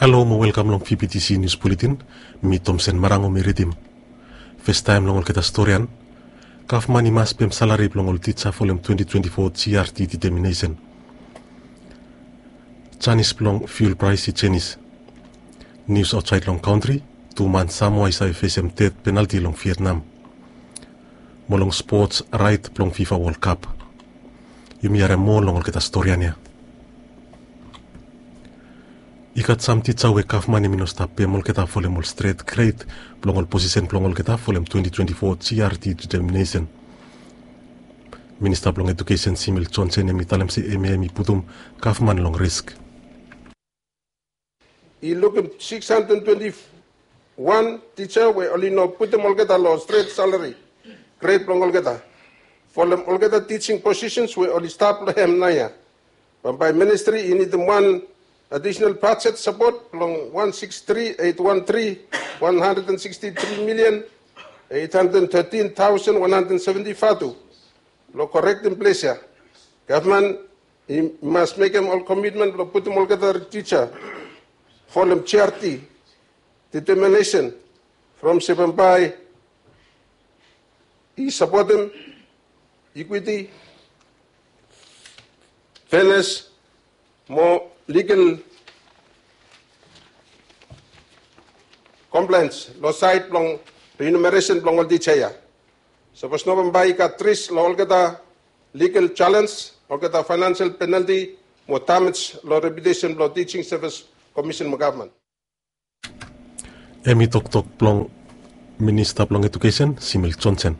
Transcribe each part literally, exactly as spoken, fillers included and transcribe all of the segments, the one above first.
Halo mo welkam long P B T C News Bulletin. Mi Tomsen Marango mi ridim. Festaem long olgeta storian. Gavman i mas pem salari blong ol tija folem twenty twenty-four G R T determination. Janis blong fuel praes i jenis. Nius aotsaed long kantri. Tu man Samoa i save fesem death penalti long Vietnam. Mo long spots raet blong FIFA World Cup. Yumi harem moa long olgeta storian ya. I gat sam tija we gavman hemi no stap pem olgeta folem ol stret gred blong ol posisen blong olgeta folem twenty twenty-four G R T determination. Minista blong Edukesen Simil Jonsen hemi talem se hemia hemi putum gavman long risk. I lukim six hundred twenty-one tija we oli no putum olgeta long stret salari gred blong olgeta folem olgeta tijing posisens we oli stap long hem naoia. Bambae ministri i nidim wan adisenal bajet sapot blong one six three eight one three one hundred and sixty-three million eight hundred thirteen thousand one hundred seventy vatu blong korektem ples ya. Gavman i mas mekem ol komitmen blong putum olgeta tija folem G R T determination from se bambae i sapotem equity, fairness mo legal compliance long saed blong remuneration blong ol tija ya. Sapos no bambae i gat risk long olgeta legal challenge, olgeta financial penalty mo damage long reputation blong Teaching Service Commission mo gavman. Hemi toktok blong Minista blong Edukesen Simil Jonsen.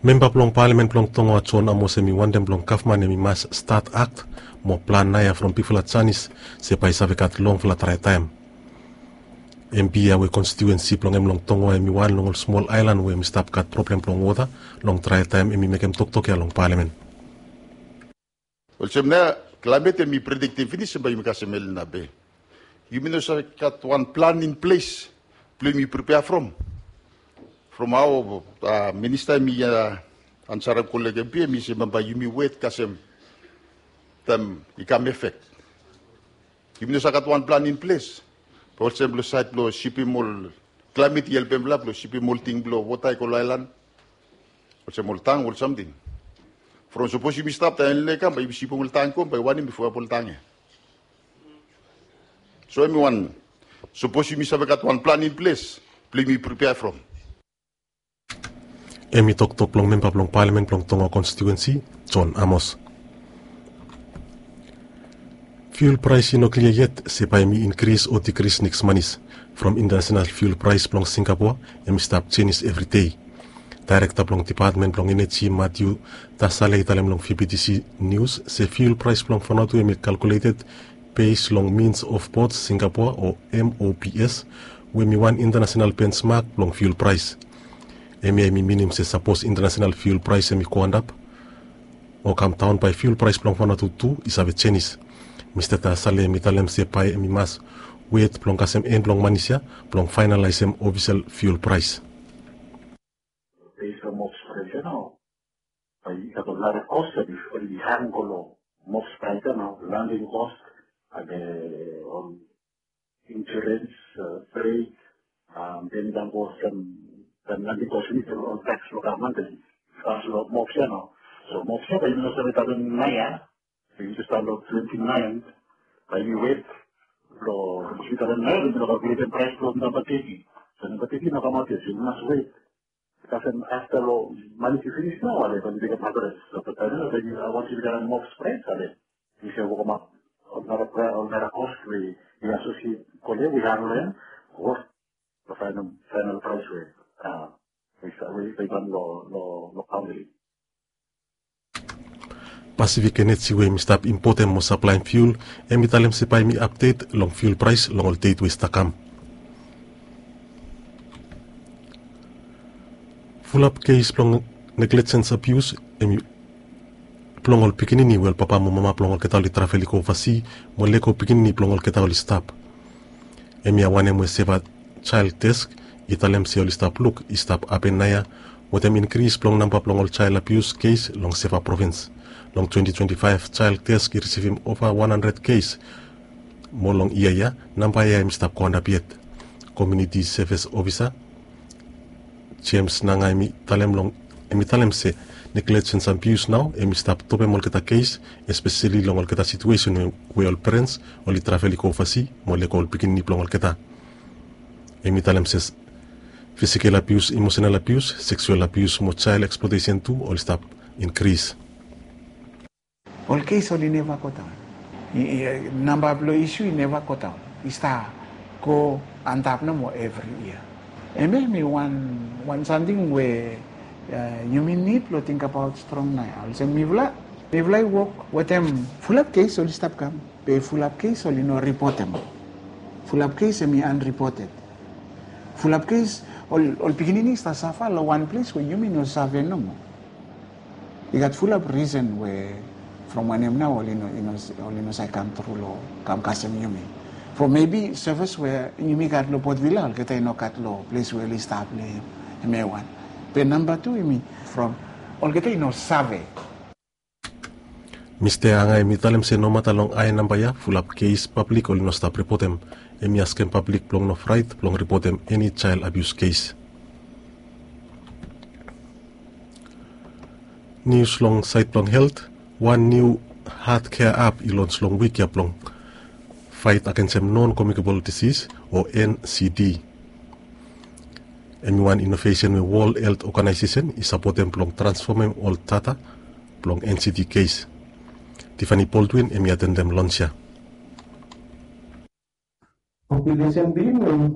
Memba blong palamen blong Tongoa John Amos hemi wantem blong gavman hemi mas stat akt mo plan naoia from bigfala janis se bae i save gat longfala draetaem. M P ya we konstitiuensi blong hem long Tongoa hemi wan long ol smol aelan we hemi stap gat problem blong wota long draetaem hemi mekem toktok ya long palamen. Olsem nao klaemet hemi prediktem finis se bae yumi kasem El Nino be yumi no save gat wan plan in ples blong yumi pripea from. From hao minista hemi ansarem kolek M P hemi se bambae yumi wet kasem taem i kam efek. Yumi no save gat wan plan in ples. Be olsem blong saed blong sipim ol klaemet i helpem blong sipim ol ting blong wota i go long aelan. Olsem ol tang ol samting. From sapos yumi stap taem El Nino i kam bae yumi sipim ol tang i go bae i wanem i fuap ol tang ya. So hemi wan sapos yumi save gat wan plan in ples blong yumi pripea from. Hemi toktok blong memba blong palamen blong Tongoa konstitiuensi John Amos. Fuel praes i no klia yet se bae hemi inkris o dikris neks manis. From intanasenal fuel praes blong Singapoa hemi stap jenis evri dei. Daerekta blong dipatmen blong eneji Matiu Tasale i talem long V B T C Nius se fuel praes blong Vanuatu hemi kalkuleted bes long Means of Ports Singapoa o M O P S we hemi wan intanasenal bensmak blong fuel praes. Hemia hemi minim se sapos intanasenal fuel praes hemi go antap o kam daon bae fuel praes blong Vanuatu tu i save jenis. Mista Tasale hemi talem se bae hemi mas wet blong kasem en blong manis ya blong faenalaesem ofisel fuel praes. Based on MOPS price ya nao bae i gat ol nara cost ya bifo i hang go long MOPS price ya nao, landing cost, ande ol insurance, freight, then i dang go olsem taem landing cost i nid ol tax blong gavman, then i pass long MOPS ya nao. So MOPS ya bae yumi no save talem naoia. Bae yumi jes talem long twenty nine bae yumi wet long yumi talem naoia, bae yumi no kalkuletem praes blong namba teti. So namba teti i no kamaot yet, so yumi mas wet. Kasem afta long manis i finis nao ale bae mi mekem adres. So taem ya bae mi, wans yumi gat MOPS praes ale mi save wokemaot ol nara, ol nara cost we i asosiet, kolem we i hang long hem, wok long faenal, faenal praes we we i, we i kam long, long, long kantri. Pacific Energy we hemi stap impotem mo saplaem fuel hemi talem se bae hemi apdet long fuel praes long ol deit we i stap kam. Fulap kes blong negligence abuse hemi blong ol pikinini we ol papa mo mama blong olgeta oli travel i go ovasi mo lego pikinini blong olgeta oli stap. Hemia wanem we Seva Child Desk i talem se oli stap luk i stap hapen naoia wetem inkris blong namba blong ol child abuse kes long Seva provins. Long twenty twenty-five Child Desk i risivim ova wan handred kes Mo long yia ya namba ya hem i stap go antap yet. Komiuniti sevis ofisa Jems Nanga hem i talem se neglejens abius nao hem i stap topem olgeta kes, espeseli long olgeta situesen we ol perens oli travel i go ovasi mo lego ol pikinini blong olgeta. Hem i talem se fisikel abius, imosenal abius, seksual abius mo jael eksplotesen tu oli stap inkris. Ol kes oli neva godaon. Namba blong isu i neva godaon, i stap go antap nomo evri yia. Hem ya hem i wan samting we yumi nid blong tingbaot strong nao ya olsem mifala mifala i wok wetem fulap kes oli stap kam, be fulap kes oli no ripotem. Fulap kes hem i anripoted. Fulap kes ol pikinini i stap safa long wan ples we yumi no save nomo. I gat fulap risen we from wanem nao oli no save kam tru long kam kasem yumi. From mebi sevis we yumi gat long potvila olgeta i no gat long ples we oli stap long hem ya i wan. Be namba tu hem i from olgeta i no save. Mista Anga hem i talem se nomata long ae namba ya fulap kes pablik oli no stap ripotem. Hem i askem pablik blong no fraet blong ripotem eni jael abius kes. Nius long saed blong helt. Wan niu had kea ap i lons long wik ya blong faet agensem non komikabol disis o N C D. Hem i wan inovesen we wol helt oganaesesen i sapotem blong transfomem ol data blong N C D kes. Tifani Boldwin hem i atendem lons ya. Populesen bilin we